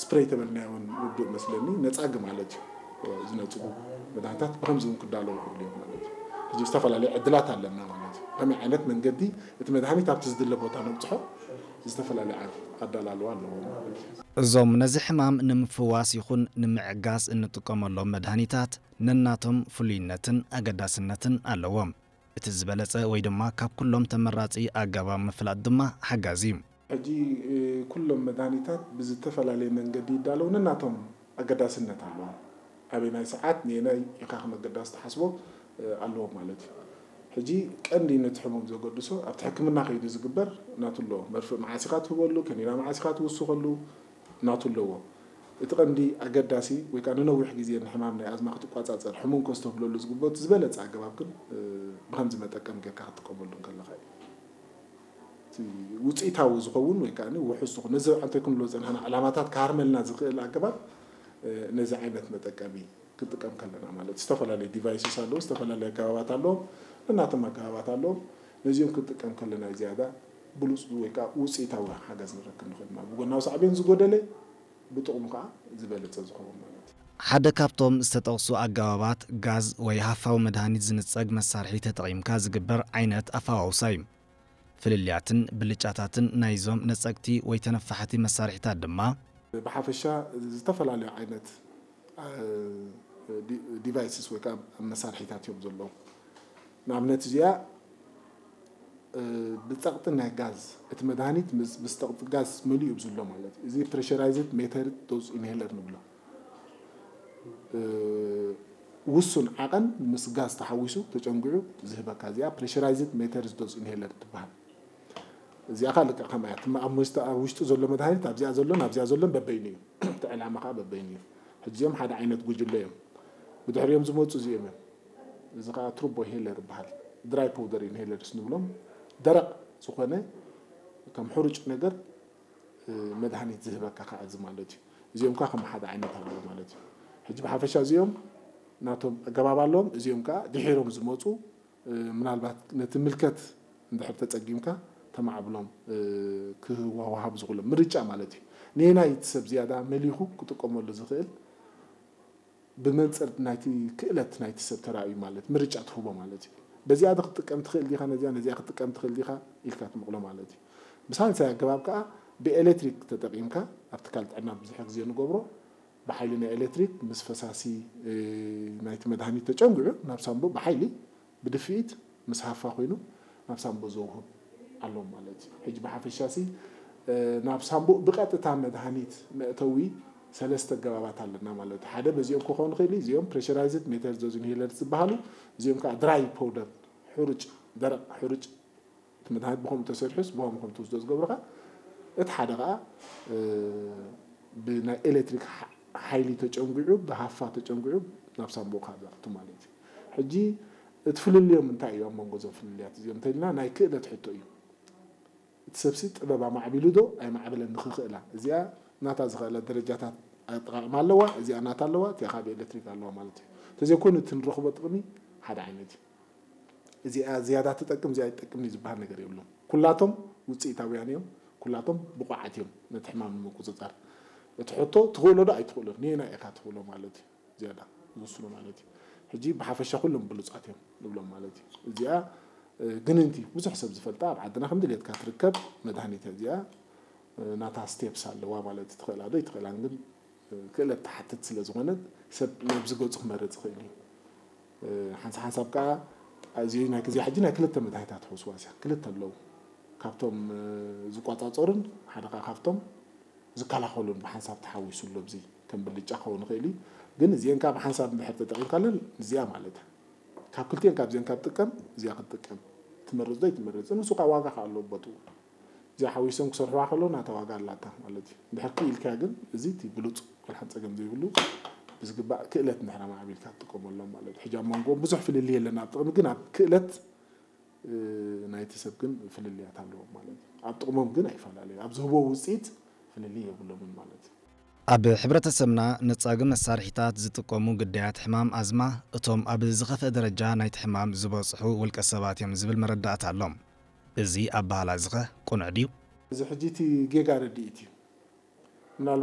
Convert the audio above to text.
ስፕሬይ ተበልናዮ እውን ርዱእ መስለኒ፣ ነጻጊ ማለት እዩ። ዝነጽጉ መድሃኒታት ብኸምዚ እውን ክዳለዉ ይኽእሉ እዮም ማለት እዩ። ሕጂ ዝተፈላለዩ ዕድላት ኣለና ማለት እዩ። ከመይ ዓይነት መንገዲ እቲ መድሃኒት ኣብቲ ዝድለ ቦታ ነብጽሖ ዝተፈላለዩ ዓ- ኣዳላልዋ ኣለዎ ማለት እዩ። እዞም ነዚ ሕማም ንምፍዋስ ይኹን ንምዕጋስ እንጥቀመሎም መድሃኒታት ነናቶም ፍሉይነትን ኣገዳስነትን ኣለዎም። እቲ ዝበለጸ ወይ ድማ ካብ ኩሎም ተመራጺ ኣገባብ ምፍላጥ ድማ ሓጋዚ እዩ። ሕጂ ኩሎም መድሃኒታት ብዝተፈላለየ መንገዲ ይዳለዉ፣ ነናቶም ኣገዳስነት ኣለዎም። ኣበየናይ ሰዓት ንየናይ ኢኻ ከም ኣገዳሲ ትሓስቦ ኣለዎም ማለት እዩ። ሕጂ ቀንዲ ነቲ ሕሙም ዘገድሶ ኣብቲ ሕክምና ከይዱ ዝግበር ናቱ ኣለዎ። መርፍእ መዓስ ኢኻ ትህበሉ፣ ከኒና መዓስ ኢኻ ትውስኸሉ ናቱ ኣለዎ። እቲ ቀንዲ ኣገዳሲ ወይ ከዓ ንነዊሕ ግዜ ንሕማም ናይ ኣዝማ ክትቋፃፀር ሕሙም ከስተብህለሉ ዝግበኦ እቲ ዝበለፀ ኣገባብ ግን ብከምዚ መጠቀም ጌርካ ክትጥቀመሉ እንከለካ እዩ። እቲ ውፅኢታዊ ዝኸውን ወይ ከዓ ውሑስ ዝኾነ ነዚ ኣንታይ ክንብሎ ዝፀናሕና ዕላማታት ክሃርመልና ዝኽእል ኣገባብ ነዚ ዓይነት መጠቀሚ ክንጥቀም ከለና ማለት ዝተፈላለዩ ዲቫይስስ ኣለዉ፣ ዝተፈላለዩ ኣገባባት ኣለዎም፣ ነናቶም ኣገባባት ኣለዎም። ነዚኦም ክንጥቀም ከለና ዝያዳ ብሉፅ ወይ ከዓ ውፅኢታዊ ሓገዝ ንረክብ ንኽእል ማለት ብጎናዊ ሳዕቤን ዝጎደለ ብጥቕሙ ከዓ ዝበለፀ ዝኸውን ማለት እዩ። ሓደ ካብቶም ዝተጠቕሱ ኣገባባት ጋዝ ወይ ሃፋዊ መድሃኒት ዝንጸግ መሳርሒ ተጠቒምካ ዝግበር ዓይነት ኣፈዋውሳ እዩ። ፍልልያትን ብልጫታትን ናይዞም ነጸግቲ ወይ ተነፋሕቲ መሳርሒታት ድማ ብሓፈሻ ዝተፈላለዩ ዓይነት ዲቫይስስ ወይ ከዓ መሳርሒታት እዮም ዘለዉ። ንኣብነት እዚኣ ብፀቕጢ ናይ ጋዝ እቲ መድሃኒት ምስ ብዝፀቕጢ ጋዝ መሊኡ እዩ ዝብሎ ማለት እዩ። እዚ ፕሬሸራይዝድ ሜተርድ ዶዝ ኢንሄለር ንብሎ። ውሱን ዓቐን ምስ ጋዝ ተሓዊሱ ተጨንጉዑ ዝህበካ እዚኣ ፕሬሸራይዝድ ሜተርድ ዶዝ ኢንሄለር ትበሃል። እዚኣ ከዓ ልክዕ ከምኣ እያ። ትማ ኣብ ውሽጢ ኣብ ውሽጢ ዘሎ መድሃኒት ኣብዚኣ ዘሎን ኣብዚኣ ዘሎን በበይኑ እዩ። እቲ ዕላማ ከዓ በበይኑ እዩ። ሕጂ እዚኦም ሓደ ዓይነት ጉጅለ እዮም። ብድሕሪኦም ዝመፁ እዚኦም እዮም። እዚ ከዓ ትሩቦ ኢንሄለር ይበሃል። ድራይ ፖውደር ኢንሄለርስ ንብሎም ደረቕ ዝኾነ ከም ሕሩጭ ነገር መድሃኒት ዝህበካ ከዓ እዚ ማለት እዩ። እዚኦም ከዓ ከም ሓደ ዓይነት ኣለዎ ማለት እዩ። ሕጂ ብሓፈሻ እዚኦም ናቶም ኣገባብ ኣለዎም። እዚኦም ከዓ ድሒሮም ዝመፁ ምናልባት ነቲ ምልከት እንድሕር ተፀጊምካ ተማዕብሎም ክዋዋሃብ ዝኽእሎም ምርጫ ማለት እዩ። ንየናይ እቲ ሰብ ዝያዳ መሊኹ ክጥቀመሉ ዝኽእል ብመንፅር ናይቲ ክእለት ናይቲ ሰብ ተራእዩ ማለት ምርጫ ትህቦ ማለት እዩ። በዚኣ ዶ ክትጥቀም ትኽእል ዲኻ፣ ነዚኣ ነዚኣ ክትጥቀም ትኽእል ዲኻ ኢልካ ትመቕሎ ማለት እዩ። ብሳልሳይ ኣገባብ ከዓ ብኤሌክትሪክ ተጠቒምካ ኣብ ትካል ጥዕና ብዙሕ ግዜ ንገብሮ ብሓይሊ ናይ ኤሌክትሪክ ምስ ፈሳሲ ናይቲ መድሃኒት ተጨንጉዑ ናብ ሳምቡእ ብሓይሊ ብድፍኢት ምስ ሃፋ ኮይኑ ናብ ሳምቡእ ዘውህብ ኣሎ ማለት እዩ። ሕጂ ብሓፈሻ ሲ ናብ ሳምቡእ ብቐጥታ መድሃኒት መእተዊ ሰለስተ ኣገባባት ኣለና ማለት እዩ። ሓደ በዚኦም ክኸውን ይኽእል እዩ። እዚኦም ፕሬሸራይዝድ ሜተርዶዝ ኢንሄለርስ ዝበሃሉ፣ እዚኦም ከዓ ድራይ ፖውደር፣ ሕሩጭ፣ ደረቕ ሕሩጭ እቲ መድሃኒት ብኸምኡ ተሰሪሑስ ብኸምኡ ከም ትወስዶ ዝገብርኻ። እቲ ሓደ ከዓ ብናይ ኤሌክትሪክ ሓይሊ ተጨንጉዑ ብሃፋ ተጨንጉዑ ናብ ሳምቡእካ ዘእቱ ማለት እዩ። ሕጂ እቲ ፍልልዮም እንታይ እዩ ኣብ መንጎ እዞም ፍልልያት እዚኦም እንተኢልና ናይ ክእለት ሕቶ እዩ። እቲ ሰብሲ ጥበብ ኣማዕቢሉ ዶ ኣይማዕበለን ንኽኽእላ እዚኣ ናታ ዝኽእላ ደረጃታት ኣጠቃቕማ ኣለዋ፣ እዚኣ ናታ ኣለዋ፣ እቲኣ ካብ ኤሌክትሪክ ኣለዋ ማለት እዩ። እንተዘይኮይኑ እቲ ንረኽቦ ጥቕሚ ሓደ ዓይነት እዩ። እዚኣ ዝያዳ ትጠቅም እዚኣ ኣይትጠቅምን እዩ ዝበሃል ነገር የብሉን። ኩላቶም ውፅኢታውያን እዮም፣ ኩላቶም ብቑዓት እዮም ነቲ ሕማም ንምቁፅፃር። እቲ ሕቶ ትኽእሎ ዶ ኣይትኽእሎን፣ ንየናይ ኢኻ ትኽእሎ ማለት እዩ። ዝያዳ ዝውስኑ ማለት እዩ። ሕጂ ብሓፈሻ ኩሎም ብሉፃት እዮም ንብሎም ማለት እዩ። እዚኣ ግንንቲ ብዙሕ ሰብ ዝፈልጣ ኣብ ዓድና ከም ድሌትካ ትርከብ መድሃኒት እያ። እዚኣ ናታ ስቴፕስ ኣለዋ ማለት እዩ። ትኽእላ ዶ ኣይትኽእላን ግን ክእለት ትሓትት ስለ ዝኾነት ሰብ ናብዚ ገፁ ክመርፅ ይኽእል እዩ። ሓንሳ ሓንሳብ ከዓ እዚ ናይ ክዚኣ ሕጂ ናይ ክልተ መድሃኒታት ሕውስዋስ እያ። ክልተ ኣለዉ ካብቶም ዝቋፃፀሩን ሓደ ከዓ ካብቶም ዝከላኸሉን ብሓንሳብ ተሓዊሱ ኣሎ። እዚ ከም ብልጫ ክኸውን ይኽእል እዩ። ግን እዚአን ከዓ ብሓንሳብ እንድሕር ተጠቒምካለን እዚኣ ማለት እያ። ካብ ክልቲአን ካብዚአን ካብ ጥቀም እዚኣ ክትጥቀም ትመርፅ ዶ ኣይትመርፅን? ንሱ ከዓ ዋጋ ከዓ ኣለዎ ቦትኡ። እዚኣ ሓዊሶም ክሰርሕዋ ከለዉ ናታ ዋጋ ኣላታ ማለት እዩ። እንድሕር ክኢልካ ግን እዚ እቲ ብሉፅ ወላ ሓንቲ ፀገም ዘይብሉ ብዝግባእ ክእለት እንድሕር ኣማዕቢልካ ትጥቀመሎም ማለት እዩ። ሕጂ ኣብ መንጎኦም ብዙሕ ፍልልይ የለን ኣብ ጥቕሚ ግን ኣብ ክእለት ናይቲ ሰብ ግን ፍልልያት ኣለዎም ማለት እዩ። ኣብ ጥቕሞም ግን ኣይፈላለዩ። ኣብ ዝህብዎ ውፅኢት ፍልልይ የብሎምን ማለት እዩ። ኣብ ሕብረተሰብና ነጻጊ መሳርሒታት ዝጥቀሙ ግዳያት ሕማም ኣዝማ እቶም ኣብ ዝኸፍአ ደረጃ ናይቲ ሕማም ዝበጽሑ ውልቀ ሰባት እዮም ዝብል መረዳእታ ኣሎ። እዚ ኣበሃህላ እዚኸ ቅኑዕ ድዩ? እዚ ሕጂ እቲ ጌጋ ርድኢት እዩ። ምናልባት